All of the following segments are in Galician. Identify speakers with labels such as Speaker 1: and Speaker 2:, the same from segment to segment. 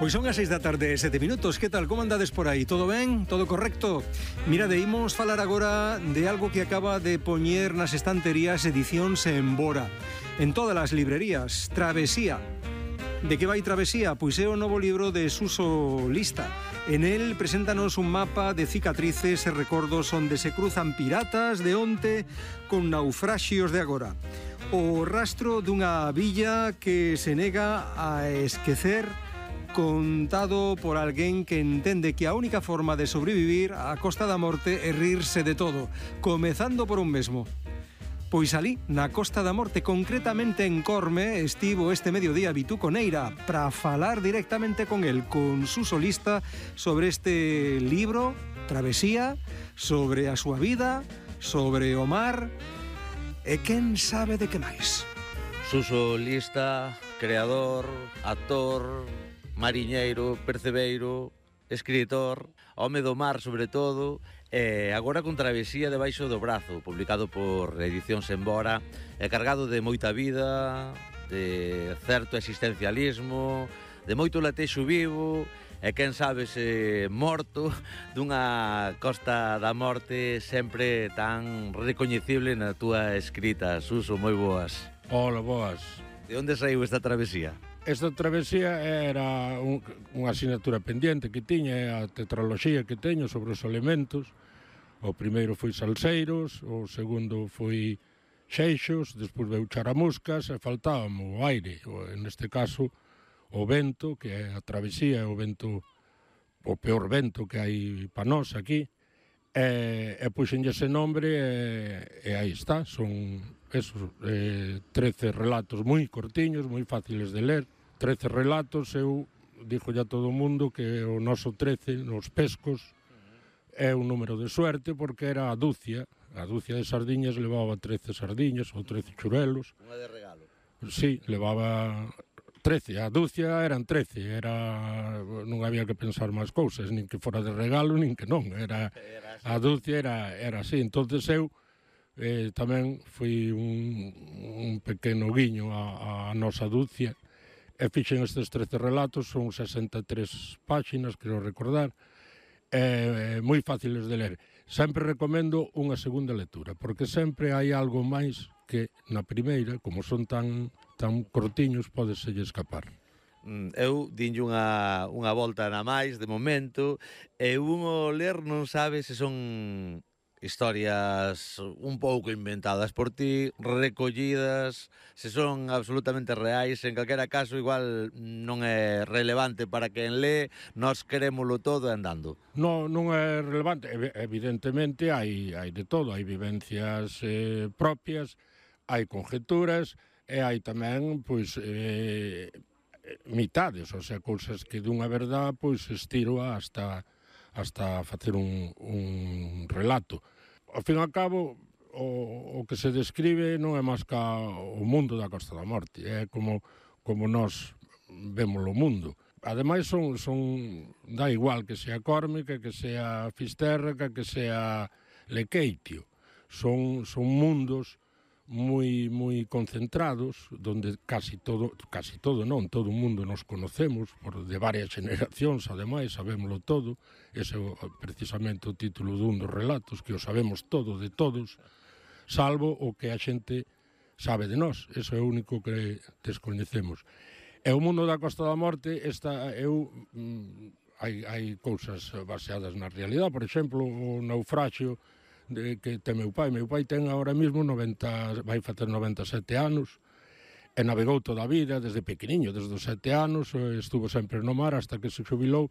Speaker 1: Pois son as 6 da tarde e 7 minutos. Que tal? Como andades por aí? Todo ben? Todo correcto? Mirade, imos falar agora de algo que acaba de poñer nas estanterías edicións en Bora. En todas as librerías. Travesía. De que vai Travesía? Pois é o novo libro de Suso Lista. En el preséntanos un mapa de cicatrices e recordos onde se cruzan piratas de onte con naufraxios de agora. O rastro dunha villa que se nega a esquecer, contado por alguén que entende que a única forma de sobrevivir á Costa da Morte é rirse de todo, comezando por un mesmo. Pois alí, na Costa da Morte, concretamente en Corme, estivo este mediodía Vituco Neira para falar directamente con el, con Suso Lista, sobre este libro, Travesía, sobre a súa vida, sobre o mar e quen sabe de que máis.
Speaker 2: Suso Lista, creador, actor, mariñeiro, percebeiro, escritor, home do mar sobre todo, e agora con Travesía debaixo do brazo, publicado por Edicións en Bora, e cargado de moita vida, de certo existencialismo, de moito latexo vivo, e quen sabe se morto dunha Costa da Morte sempre tan recoñecible na túa escrita. Suso, moi boas.
Speaker 3: Hola, boas.
Speaker 2: De onde saiu esta travesía?
Speaker 3: Esta travesía era unha asignatura pendiente que tiña, a tetraloxía que teño sobre os elementos. O primeiro foi Salseiros, o segundo foi Xeixos, despois veu Charamuscas e faltábamos o aire, neste caso o vento, que é a travesía, o vento, o peor vento que hai pa nós aquí, e puxenlle ese nombre e aí está, son esos 13 relatos moi cortiños, moi fáciles de ler, 13 relatos. Eu dixo ya todo o mundo que o noso 13 nos pescos é un número de suerte porque era a dúcia de sardiñas levaba 13 sardiñas ou 13 churelos.
Speaker 2: Unha de regalo.
Speaker 3: Sí, levaba 13, a dúcia eran 13, non había que pensar máis cousas, nin que fora de regalo, nin que non, a dúcia era así. Entonces eu tamén fui un pequeno guiño a nosa dúcia e fixen estes 13 relatos, son 63 páxinas, quero recordar, moi fáciles de ler. Sempre recomendo unha segunda lectura, porque sempre hai algo máis que na primeira, como son tan cortiños, podeselle escapar.
Speaker 2: Eu dinlle unha volta na máis, de momento, e un o ler non sabe se son historias un pouco inventadas por ti, recollidas, se son absolutamente reais. En calquera caso, igual non é relevante para quen lee, nós querémolo todo andando.
Speaker 3: Non é relevante, evidentemente hai de todo, hai vivencias propias, hai conjeturas e hai tamén, pois, mitades, ou sea, cousas que dunha verdad, pois, estiro hasta facer un relato. Ao fin e ao cabo, o que se describe non é máis que o mundo da Costa da Morte, é como nós vemos o mundo. Ademais, dá igual que sea Córmica, que sea Fisterra, que sea Lequeitio. Son mundos moi concentrados, donde casi todo non, todo o mundo nos conocemos, de varias generacións, ademais, sabémolo todo. Ese é precisamente o título dun dos relatos, que o sabemos todo de todos, salvo o que a xente sabe de nós. Eso é o único que descoñecemos. E o mundo da Costa da Morte, hai cousas baseadas na realidade. Por exemplo, o naufraxio que ten meu pai. Meu pai ten ahora mesmo vai facer 97 anos, e navegou toda a vida, desde pequeniño, desde os 7 anos, estuvo sempre no mar hasta que se xubilou,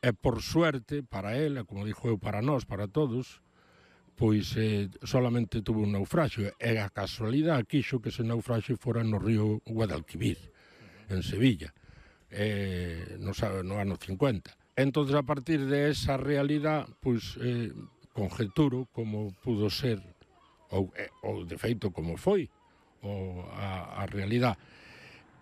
Speaker 3: e por suerte, para ele, como dixo eu, para nós, para todos, pois solamente tuvo un naufraxio, e a casualidade quixo que ese naufraxio fora no río Guadalquivir, en Sevilla, no ano 50. Entonces, a partir de esa realidade, pois conjeturo como pudo ser ou de feito como foi a realidade.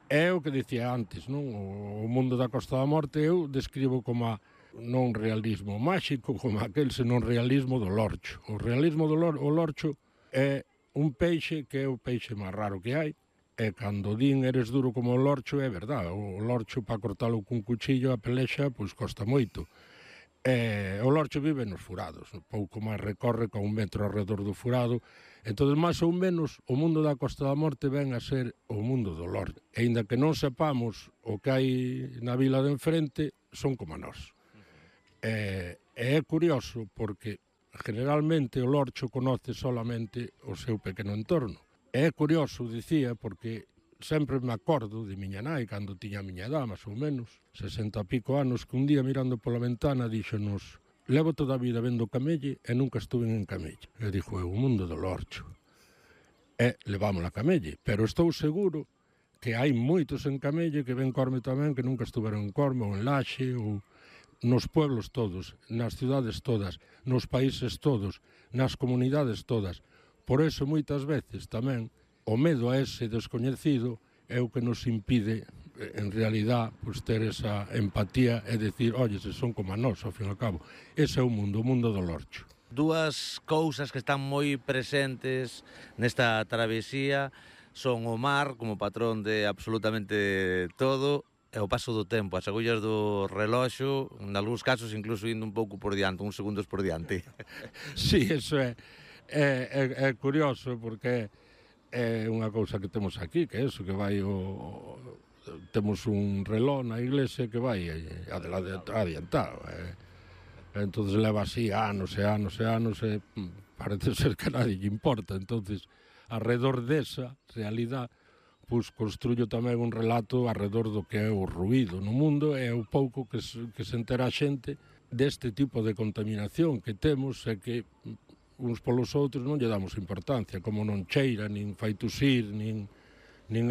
Speaker 3: É o que dicía antes, non? O mundo da Costa da Morte eu describo como non realismo máxico, como aquel senón realismo do lorcho. O realismo do lorcho é un peixe que é o peixe máis raro que hai, E cando din eres duro como o lorcho, é verdad, o lorcho para cortalo cun cuchillo a pelexa, pois costa moito. O lorcho vive nos furados, pouco máis recorre con 1 metro alrededor do furado, entón, máis ou menos, o mundo da Costa da Morte ven a ser o mundo do lorcho. E ainda que non sepamos o que hai na vila de enfrente, son como nós. É curioso porque generalmente o lorcho conoce solamente o seu pequeno entorno. É curioso, dicía, porque sempre me acordo de miña nai, cando tiña a miña edad, máis ou menos, 60 e pico anos, que un día mirando pola ventana díxonos: levo toda a vida vendo Camelle e nunca estuve en Camelle. E dixo, é o mundo do lorcho. E levamos a Camelle, pero estou seguro que hai moitos en Camelle que ven Corme tamén, que nunca estuveron en Corme ou en Laxe, ou nos pueblos todos, nas cidades todas, nos países todos, nas comunidades todas. Por eso, moitas veces, tamén, o medo a ese descoñecido é o que nos impide, en realidad, pues, ter esa empatía e decir, oye, se son como a nós, ao fin e ao cabo. Ese é o mundo do lorcho.
Speaker 2: Dúas cousas que están moi presentes nesta travesía son o mar, como patrón de absolutamente todo, e o paso do tempo, as agullas do reloxo, en algúns casos incluso indo un pouco por diante, uns segundos por diante.
Speaker 3: Sí, eso é curioso, porque é unha cousa que temos aquí, que é eso, que vai temos un reloj na iglesia que vai adiantado. Entonces leva así anos e anos e anos e parece ser que a nadie lle importa. Entonces, alrededor desa realidad, pois construyo tamén un relato alrededor do que é o ruído no mundo e o pouco que se entera a xente deste tipo de contaminación que temos e que uns polos outros non lle damos importancia, como non cheira, nin fai tusir, nin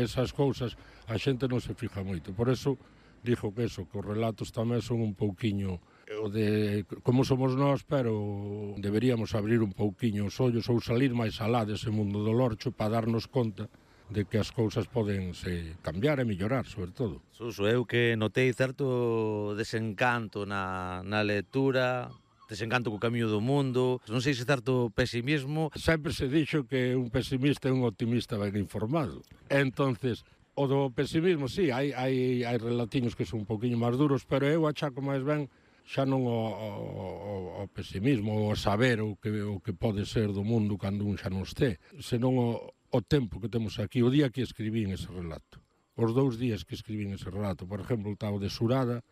Speaker 3: esas cousas, a xente non se fija moito. Por eso, dixo que os relatos tamén son un pouquiño o de como somos nós, pero deberíamos abrir un pouquiño os ollos ou salir máis alá dese mundo do lorcho para darnos conta de que as cousas poden se cambiar e mellorar, sobre todo.
Speaker 2: Suso, eu que notei certo desencanto na lectura, desencanto co camiño do mundo, non sei se certo pesimismo.
Speaker 3: Sempre se dixo que un pesimista é un optimista ben informado. Entonces, o do pesimismo, sí, hai relatiños que son un poquinho máis duros, pero eu achaco máis ben xa non o pesimismo, o saber o que pode ser do mundo cando un xa non este, senón o tempo que temos aquí, o día que escribín ese relato. Os 2 días que escribín ese relato. Por exemplo, o de Surada.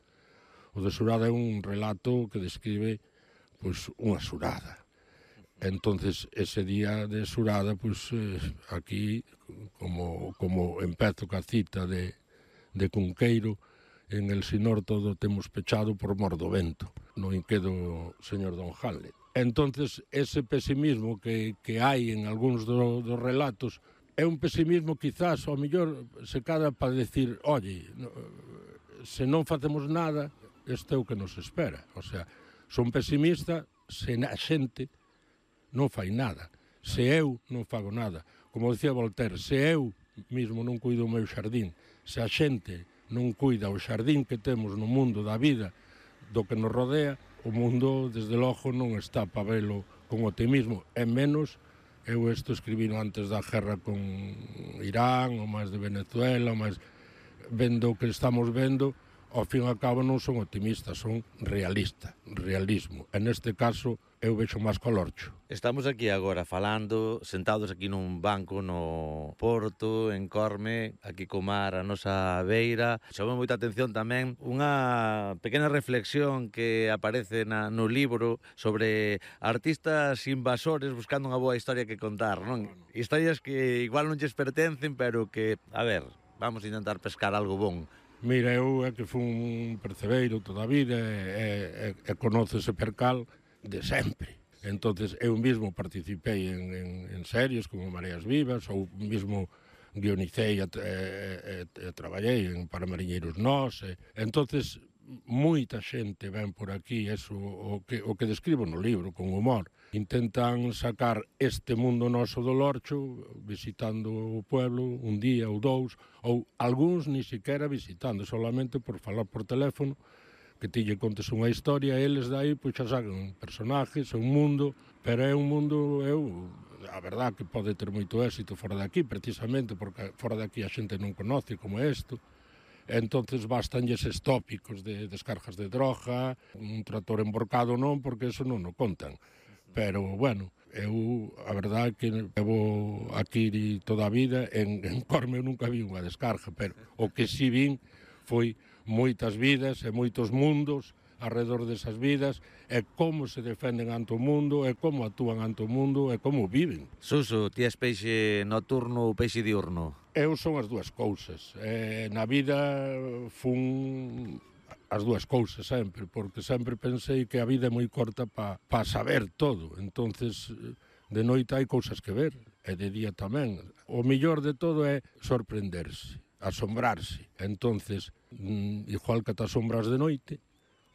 Speaker 3: O de Surada é un relato que describe pois unha surada. Entonces, ese día de Surada, pois aquí, como empezo ca cita de Cunqueiro, en el Sinor todo temos pechado por mor do vento, no inquedo señor Don Hamlet. Entonces, ese pesimismo que hai en algúns dos relatos é un pesimismo quizás, ao mellor, se cada para decir, oye, se non facemos nada, este é o que nos espera. O sea, son pesimista se a xente non fai nada, se eu non fago nada. Como dicía Voltaire, se eu mismo non cuido o meu xardín, se a xente non cuida o xardín que temos no mundo da vida, do que nos rodea, o mundo, desde logo, non está para velo con optimismo, e menos eu escribino antes da guerra con Irán, ou máis de Venezuela, ou máis vendo o que estamos vendo, ao fin e ao cabo non son optimistas, son realismo. E neste caso eu vexo máis co lorcho.
Speaker 2: Estamos aquí agora falando, sentados aquí nun banco no Porto, en Corme, aquí co mar a nosa beira. Chamou moita atención tamén unha pequena reflexión que aparece no libro sobre artistas invasores buscando unha boa historia que contar, non? Historias que igual non lles pertencen, pero que, a ver, vamos a intentar pescar algo bon.
Speaker 3: Mira, eu é que fui un percebeiro toda a vida e conoce ese percal de sempre. Entonces, eu mesmo participei en series como Mareas Vivas, ou mesmo guionicei e traballei para Mariñeiros Nós. Entonces, moita xente ven por aquí, eso, o que describo no libro, con humor. Intentan sacar este mundo noso do lorcho, visitando o pueblo un día ou 2, ou algúns ni siquiera visitando, solamente por falar por teléfono, que ti lle contes unha historia, eles dai, pois xa sacan personajes, un mundo, pero é un mundo, eu a verdad que pode ter moito éxito fora de aquí, precisamente porque fora de aquí a xente non conoce como é isto. Entonces bastanlles estes tópicos de descargas de droga, un trator emborcado non, porque eso non o contan. Pero, bueno, eu, a verdade que levo aquí toda a vida, en Corme eu nunca vi unha descarga, pero o que si vin foi moitas vidas e moitos mundos alrededor desas vidas, e como se defenden ante o mundo, e como actúan ante o mundo, e como viven.
Speaker 2: Suso, ti és peixe nocturno ou peixe diurno?
Speaker 3: Eu son as dúas cousas. Na vida fun as dúas cousas sempre, porque sempre pensei que a vida é moi corta para saber todo. Entonces, de noite hai cousas que ver, e de día tamén. O mellor de todo é sorprenderse, asombrarse. Entonces, igual que te asombras de noite,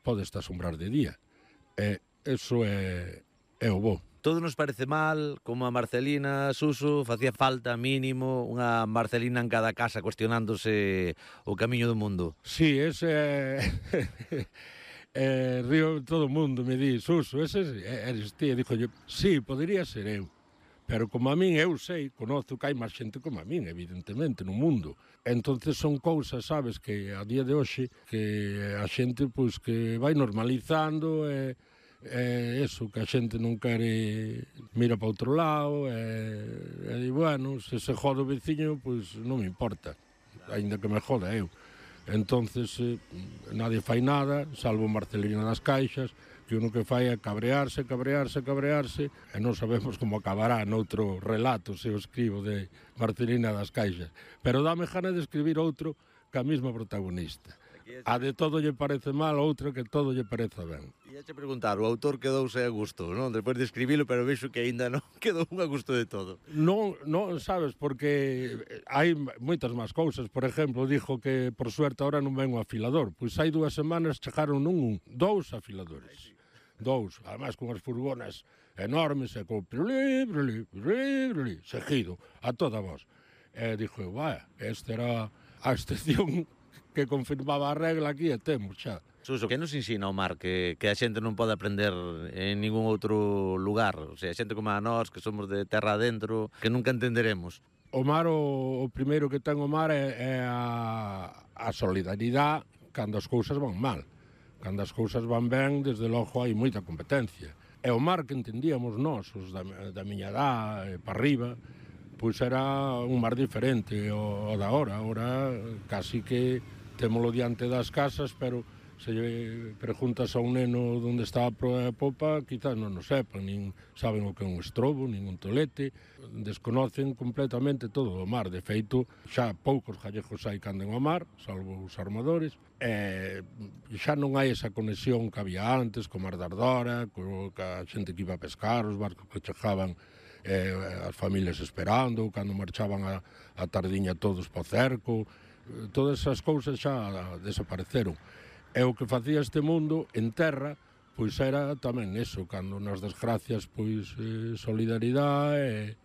Speaker 3: podes te asombrar de día. Eso é o bo.
Speaker 2: Todo nos parece mal, como a Marcelina, Suso, facía falta mínimo unha Marcelina en cada casa cuestionándose o camiño do mundo.
Speaker 3: Sí, ese río todo o mundo, me di, Suso, ese eres ti, e dixo yo, sí, podería ser eu. Pero como a min, eu sei, conozo que hai máis xente como a min, evidentemente, no mundo. Entonces son cousas, sabes, que a día de hoxe, que a xente, pois, que vai normalizando, eso, que a xente non quere mira para outro lado, e bueno, se joda o veciño, pois non me importa, aínda que me joda eu. Entonces, nadie fai nada, salvo Marcelina das Caixas, que uno que fai é cabrearse, e non sabemos como acabará noutro relato, se o escribo, de Marcelina das Caixas. Pero dame gana de escribir outro que a mesma protagonista. A de todo lle parece mal, outra que todo lle parece ben.
Speaker 2: Ia che preguntar, o autor quedouse a gusto, non? Despois de escribilo, pero vexo que aínda non quedou a gusto de todo.
Speaker 3: Non, sabes, porque hai moitas máis cousas. Por exemplo, dixo que, por suerte, ahora non ven o afilador. Pois hai 2 semanas chegaron non 2 afiladores. 2, además con as furgonas enormes, e con seguido, a toda voz. E dixo, vaya, esta era a excepción que confirmaba a regla aquí, e temos xa.
Speaker 2: Suso, que nos ensina o mar que a xente non pode aprender en ningún outro lugar? O sea, xente como a nós, que somos de terra adentro, que nunca entenderemos.
Speaker 3: O mar, o primeiro que ten o mar é a solidaridade cando as cousas van mal. Cando as cousas van ben, desde logo hai moita competencia. E o mar que entendíamos nós, os da miña edad, para arriba, pois era un mar diferente ao da hora. Ahora casi que témolo diante das casas, pero se lle preguntas a un neno onde está a proa e a popa, quizás non o sepan, nin saben o que é un estrobo, nin un tolete, desconocen completamente todo o mar. De feito, xa poucos gallegos hai que anden ao mar, salvo os armadores, e xa non hai esa conexión que había antes, co mar de Ardora, co a xente que iba a pescar, os barcos que chegaban, as familias esperando, cando marchaban a tardiña todos para o cerco, todas esas cousas xa desapareceron. E o que facía este mundo en terra, pois era tamén eso, cando nas desgracias, pois solidaridade,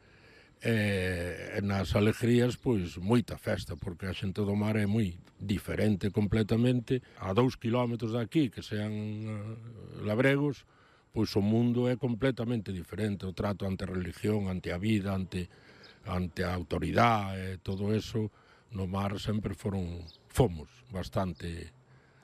Speaker 3: e nas alegrías, pois moita festa, porque a xente do mar é moi diferente completamente. A 2 kilómetros de aquí, que sean labregos, pois o mundo é completamente diferente. O trato ante a religión, ante a vida, ante a autoridade, todo eso, no mar sempre fomos bastante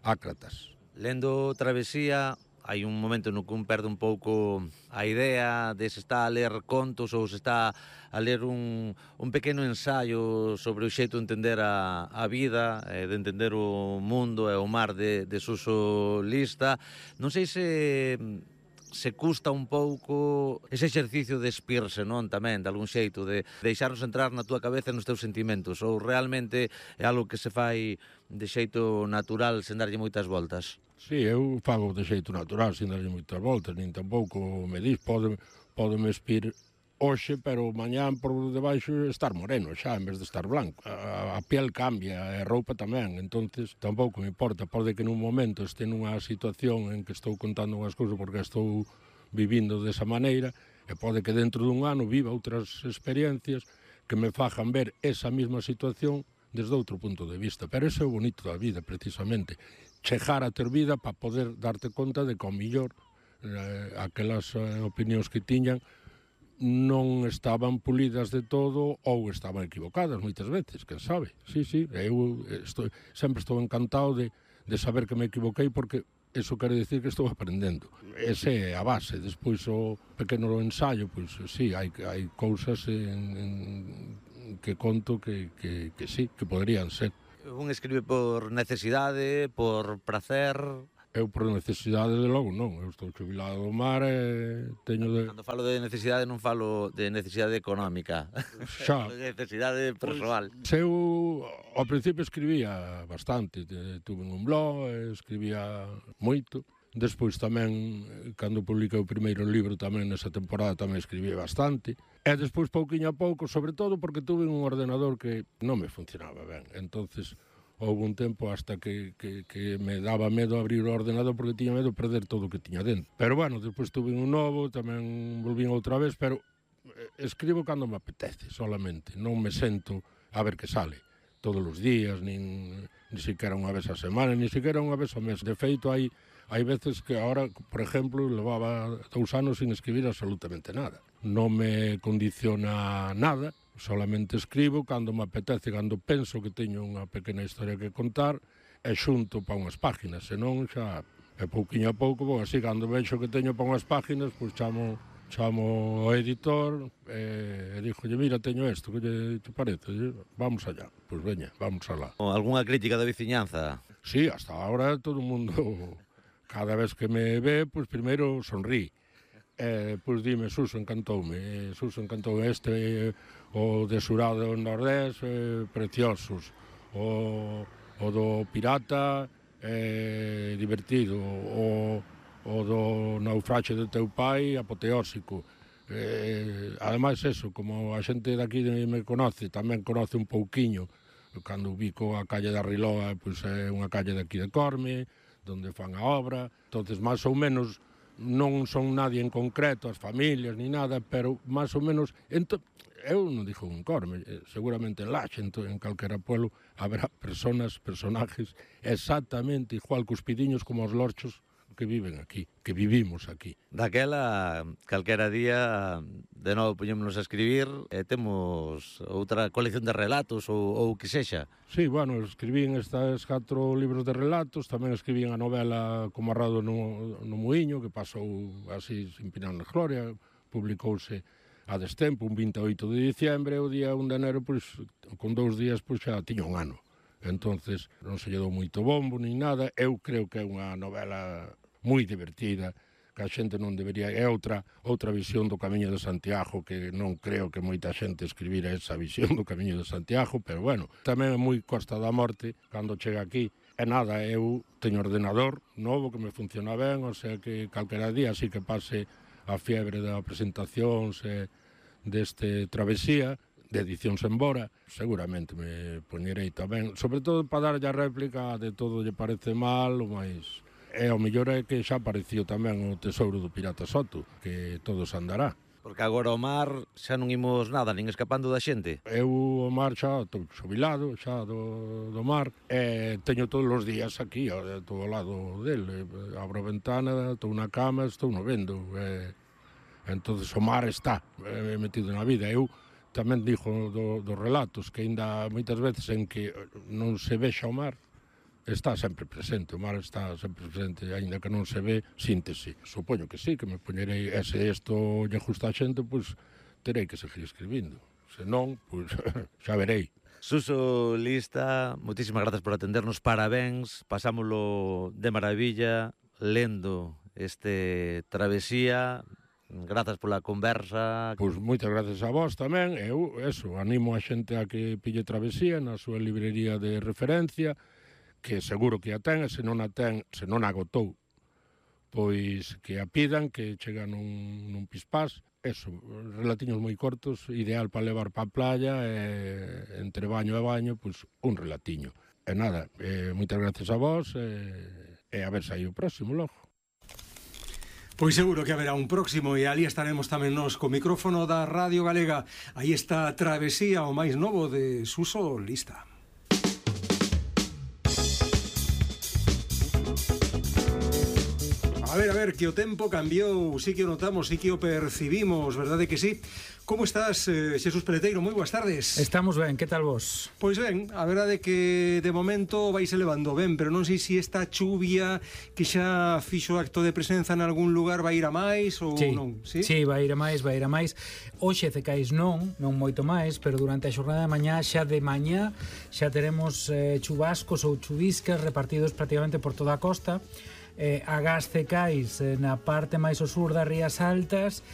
Speaker 3: ácratas.
Speaker 2: Lendo Travesía, hai un momento no que un perde un pouco a idea de se está a ler contos ou se está a ler un pequeno ensaio sobre o xeito de entender a vida, de entender o mundo e o mar de Suso Lista. Non sei se custa un pouco ese exercicio de espirse, non? Tamén, de algún xeito, de deixarnos entrar na túa cabeza e nos teus sentimentos, ou realmente é algo que se fai de xeito natural, sen darlle moitas voltas?
Speaker 3: Sí, eu fago de xeito natural, sen darlle moitas voltas, nin tampouco me dis, podeme espir hoxe, pero mañán por debaixo estar moreno xa, en vez de estar blanco. A piel cambia, e a roupa tamén, entonces tampouco me importa. Pode que nun momento este nunha situación en que estou contando unhas cousas porque estou vivindo desa maneira, e pode que dentro dun ano viva outras experiencias que me fajan ver esa mesma situación desde outro punto de vista. Pero ese é o bonito da vida, precisamente. Chegar a ter vida para poder darte conta de que ao millor aquelas opinións que tiñan non estaban pulidas de todo ou estaban equivocadas moitas veces, quen sabe. Sí, eu sempre estou encantado de saber que me equivoquei, porque eso quere dicir que estou aprendendo. Esa é a base. Despois o pequeno ensaio, pois sí, hai cousas que conto que sí, que poderían ser.
Speaker 2: Un escribe por necesidade, por prazer...
Speaker 3: Eu por necesidade, de logo, non. Eu estou xubilado do mar e teño de...
Speaker 2: Cando falo de necesidade non falo de necesidade económica.
Speaker 3: Xa.
Speaker 2: De necesidade persoal.
Speaker 3: Pois, eu ao principio escribía bastante. Tuve un blog, escribía moito. Despois tamén, cando publiquei o primeiro libro tamén nesa temporada, tamén escribía bastante. E despois, pouquiño a pouco, sobre todo porque tuve un ordenador que non me funcionaba ben. Entonces, houve un tempo hasta que me daba medo abrir o ordenador, porque tiña medo de perder todo o que tiña dentro. Pero bueno, despois tuve un novo, tamén volvín outra vez, pero escribo cando me apetece solamente. Non me sento a ver que sale todos os días, nin siquiera unha vez a semana, nin siquiera unha vez ao mes. De feito, hai veces que ahora, por exemplo, levaba 2 anos sin escribir absolutamente nada. Non me condiciona nada, solamente escribo cando me apetece, cando penso que teño unha pequena historia que contar, e xunto para unhas páginas, senón xa é pouquiño a pouco, así cando vexo que teño para unhas páginas, pois chamo ao editor e dixolle, mira, teño isto, que te parece? Vamos allá. Pois veña, vamos alá.
Speaker 2: Algúnha crítica da veciñanza?
Speaker 3: Sí, hasta agora todo o mundo, cada vez que me ve, pois primeiro sonrí. Pois dime, Suso, encantoume. O de Surado do Nordés, preciosos. O do Pirata, divertido. O do Naufraxe do teu pai, apoteósico. Ademais, eso, como a xente daqui me conoce, tamén conoce un pouquiño. Cando ubico a calle da Riloa, pois é unha calle daqui de Corme, donde fan a obra. Entonces, máis ou menos, non son nadie en concreto, as familias, ni nada, pero máis ou menos... Eu non dixo un Corme, seguramente en Laxe, en calquera pueblo, haberá personajes exactamente igual que os pidiños como os lorchos que viven aquí, que vivimos aquí.
Speaker 2: Daquela, calquera día, de novo poñémonos a escribir, e temos outra colección de relatos ou que sexa.
Speaker 3: Sí, bueno, escribín estes 4 libros de relatos, tamén escribín a novela Comarrado no Muiño, que pasou así sin pinar na gloria, publicouse a destempo, un 28 de diciembre, o día 1 de enero, pois, con 2 días, pois xa tiña un ano. Entonces, non se lle dou moito bombo, nin nada. Eu creo que é unha novela moi divertida, que a xente non debería... É outra visión do Camiño de Santiago, que non creo que moita xente escribira esa visión do Camiño de Santiago, pero bueno, tamén é moi Costa da Morte, cando chega aquí. E nada, eu teño ordenador novo que me funciona ben, o sea que calquera día, así que pase a fiebre da presentación deste Travesía, de Edicións Embora, seguramente me poñerei tamén, sobre todo para darlle a réplica de Todo lle parece mal, o máis... E o mellor é que xa apareciu tamén o Tesouro do Pirata Soto, que todos andará.
Speaker 2: Porque agora o mar xa non imos nada, nin escapando da xente.
Speaker 3: Eu o mar xa estou xubilado, xa do mar, e teño todos os días aquí, estou ao lado dele. Abro a ventana, estou na cama, estou no vendo. Entonces o mar está metido na vida. Eu tamén dixo dos relatos que ainda moitas veces en que non se vexa o mar, está sempre presente, o mar está sempre presente, aínda que non se ve, síntese. Supoño que sí, que me poñerei, e se isto lle gusta a xente, pois terei que seguir escribindo. Se non, pois xa verei.
Speaker 2: Suso Lista, moitísimas grazas por atendernos, parabéns, pasámolo de maravilla, lendo este Travesía, grazas pola conversa.
Speaker 3: Pois moitas grazas a vos tamén, eu, animo a xente a que pille Travesía na súa librería de referencia, que seguro que a ten, e se non a ten, se non a agotou, pois que a pidan, que chega nun pispás. Relatiños moi cortos, ideal para levar para a playa, e entre baño e baño, pois un relatiño. E nada, moitas gracias a vos, e a ver se hai o próximo logo.
Speaker 1: Pois seguro que haberá un próximo, e ali estaremos tamén nos co micrófono da Radio Galega. Aí está Travesía, o máis novo de Suso Lista. A ver, que o tempo cambiou, sí que o notamos, sí que o percibimos, verdade que sí? Como estás, Xesús Peleteiro? Moi boas tardes.
Speaker 4: Estamos ben, que tal vos?
Speaker 1: Pois ben, a verdade que de momento vais elevando ben, pero non sei se esta chuvia que xa fixo acto de presenza en algún lugar vai ir a máis ou non, sí?
Speaker 4: Sí, vai ir a máis. Hoxe cecais non moito máis, pero durante a xornada de mañá xa teremos chubascos ou chuviscas repartidos prácticamente por toda a costa. Agás cecais na parte máis ao sur das Rías Altas